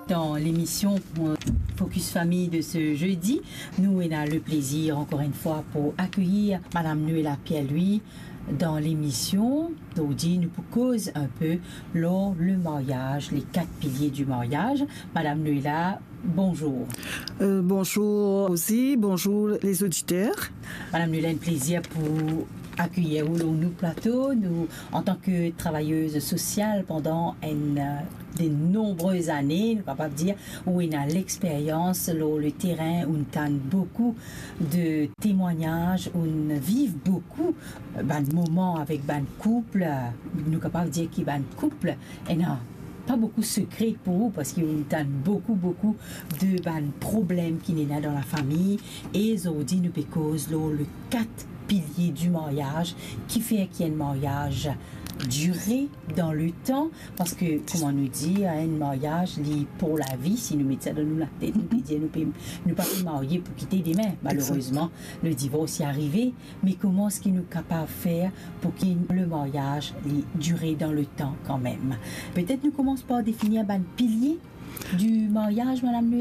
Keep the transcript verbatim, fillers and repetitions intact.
Dan lemision, euh, Focus Famille de ce jeudi, nou ena le plezir ankor enn fwa pou akeyir Madam Noëlla Pierre-Louis dan lemision. Zordi nou pou koz inpe lor le maryaz, les quatre piliers du mariage. Madam Noëlla, bonzour. Euh, bonzour osi, bonzour les auditeurs. Madam Noëlla, enn plezir pou akeyir ou lor nou plato. Nou, antan ke travayez sosial pandan enn, euh, de nonbrez ane, nou kapav dir, ou ena lexperyans lor le terin, ou'nn tann boukou de temwagnaz, ou'nn viv boukou, euh, bann moman avek bann koup, euh, nou kapav dir ki bann koup ena pa boukou sekre pou ou, parski ou'nn tann boukou, boukou de bann problem ki ena dan lafami. E zordi nou pe koz lor le quatre piliers du mariage, kifer ki enn maryaz dire dan le tan, parski, kouma nou dir, enn maryaz, li pou lavi. Si nou met sa dan nou latet, nou pe dir, nou pe, nou pa pe marye pou kite demin. Exact. Malerezman, le divors li arive. Me kouma eski nou kapav fer pou ki le maryaz li dire dan le tan kanmem? Petet nou koumans par definir bann pilie du maryaz, Madam Noëlla.